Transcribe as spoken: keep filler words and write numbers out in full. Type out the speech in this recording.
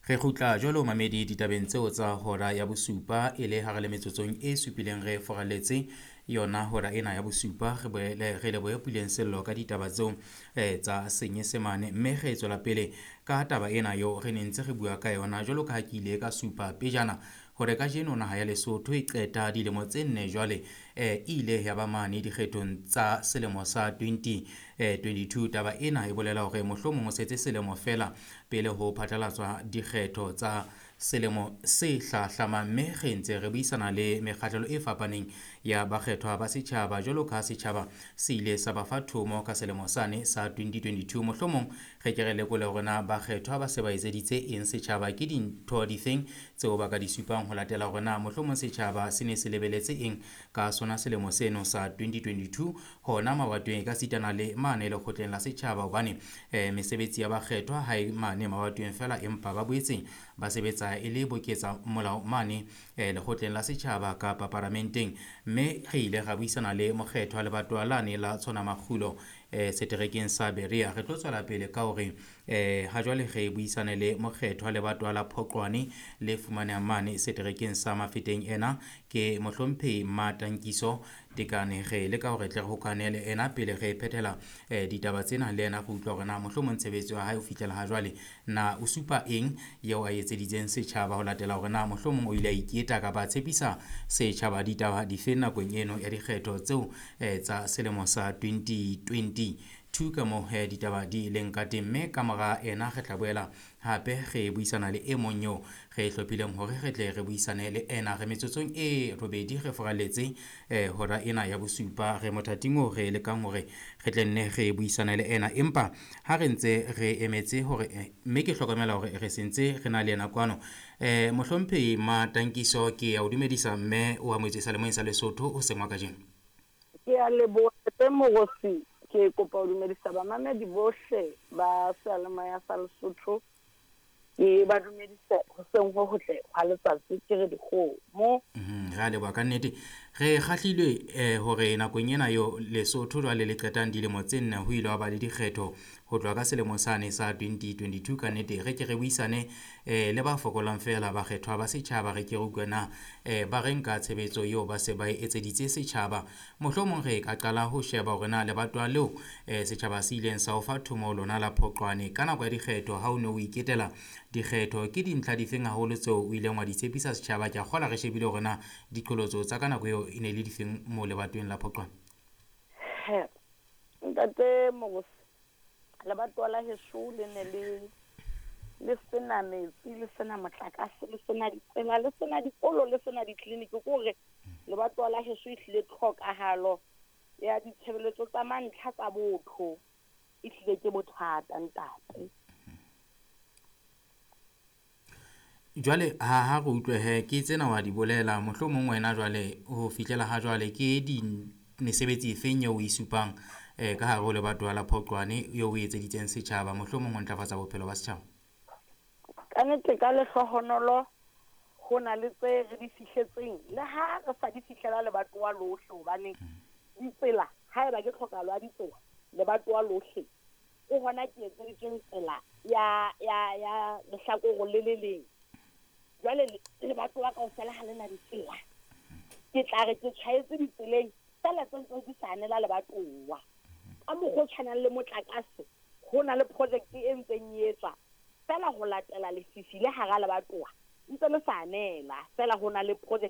Re kgutla jwalo mamedi ditabeng tseo tsa hora ya bosupa e le hare le metsotsong e supileng re foraletse yona hora ena ya bosupa. Re boele re lebohe Puleng Sello ka ditaba tseo eh, tsa Senyesemane, mme re tswela pele ka taba ena eo re ne ntse re bua ka yona. Jwalo ka ha ke ile ka supa pejana hore kajeno naha ya Lesotho e qeta dilemo tse nne jwale eh, e ile ya ba mane dikgethong tsa selemo sa twenty twenty-two. Taba ena e bolela hore mohlomong o setse selemo fela pele ho phatlalatswa dikgetho tsa selemo se hlahlamang, mme re ntse re buisana le mekgahlelo e fapaneng ya bakgethwa ba setjhaba jwalo ka setjhaba se ile sa ba fa thomo ka selemo sane sa twenty twenty-two. Mohlomong re ke re lekole hore na bakgethwa ba se ba etseditse eng setjhaba, ke dintho difeng tseo ba ka di supang ho latela hore na mohlomong setjhaba se ne se lebeletse eng ka sona selemo seno sa twenty twenty-two hona mabatoweng e ka sitana le mane lekgotleng la setjhaba, hobane eh, mesebetsi ya bakgethwa ha e mane mabatoweng fela, empa ba boetse ba sebetsa e le boketsa molao mane eh, lekgotleng la setjhaba kapa paramenteng. Mme re ile ra buisana le mokgethwa lebatowa lane la Tshona Makgulo eh, seterekeng sa Berea. Re tlo tswela pele ka hore eh, ha jwale re buisane le mokgethwa lebatowa la Phoqwane le fumanehang mane seterekeng sa Mafeteng. Ena ke mohlomphehi Matankiso Tekane. Re leka hore tle re hokane le ena pele re phethela eh, ditaba tsena le ena, re utlwa hore na mohlomong tshebetso ya hae ho fihlela ha jwale na o supa eng eo a etseditseng setjhaba ho latela hore na mohlomong o ile a iketa kapa a tshepisa setjhaba ditaba dife nakong eno ya dikgetho tseo eh, tsa selemo sa twenty twenty-two ka moo eh, ditaba di leng ka teng. Mme ka mora ena re tla boela hape re buisana le e mong eo re hlophileng hore re tle re buisane le ena. Re metsotsong e robedi re foraletse eh, hora ena ya bosupa, re mothating oo re lekang hore re tle nne re buisane le ena, empa ha re ntse re emetse hore eh, mme ke hlokomela hore re sentse re na le ena kwano. Eh, mohlomphehi Matankiso, ke ya o dumedisa mme o amohetswe seyalemoyeng sa Lesotho o seng wa kajeno. Ke a leboha tse Mogosi. Ke kopa ho dumedisa bamamedi bohle ba seyalemoya sa Lesotho. Ke ba dumedise hoseng ho hotle hwa letsatsi, ke re dikgomo. Mhm, re a leboha ka nnete. Re kgahlilwe eh, hore nakong ena yo Lesotho jwale le qetang dilemo tse nne ho ile wa ba le dikgetho ho tloha ka selemo sane sa twenty twenty-two. Ka nnete re ke re buisane eh, le ba fokolang fela bakgethwa ba setjhaba, re ke re utlwe na eh, ba reng ka tshebetso eo ba se ba e etseditse setjhaba. Mohlomong re ka qala ho sheba hore na lebatowa leo eh, setjhaba se ileng sa o fa thomo lona la Phoqwane ka nako ya dikgetho ha o ne o iketela dikgetho, ke dintlha difeng haholo tseo o ileng wa di tshepisa setjhaba? Ke a kgolwa re shebile hore na diqholotso tsa ka nako eo e ne le difeng moo lebatoweng la Phoqwane. He, ntate Mogosi, lebatowa la heso le ne le le sena metsi, le sena motlakase, le sena ditsela, le sena dikolo, le sena ditleliniki. Ke hore lebatowa la heso ehlile tlhokahalo ya ditshebeletso tsa mantlha tsa botho ehlile ke bothata ntate. Jwale ha ha re utlwe he, ke tsena wa di bolela, mohlomong wena jwale ho fihlela ha jwale ke di mesebetsi efeng eo o e supang eh, ka hare ho lebatowa la Phoqwane eo o etseditseng setjhaba, mohlomong ho ntlafatsa bophelo ba setjhaba? Ka nnete ka lehlohonolo ho na le tse re di fihletseng, le ha re sa di fihlela lebatowa lohle, hobane ditsela haeba ke tlhokahalo ya ditsela lebatowa lohle o hona ke etseditsweng tsela ya ya ya lehlakore le le leng. Jwale lebatowa kaofela ha le na ditsela, ke tla re ke tjhaetse ditseleng fela tse ntse di sa anela lebatowa. Ka mokgwa o tshwanang le motlakase, ho na le project e ntseng e etswa fela ho latela lefifi le hara lebatowa ntse le sa anela fela, ho na le project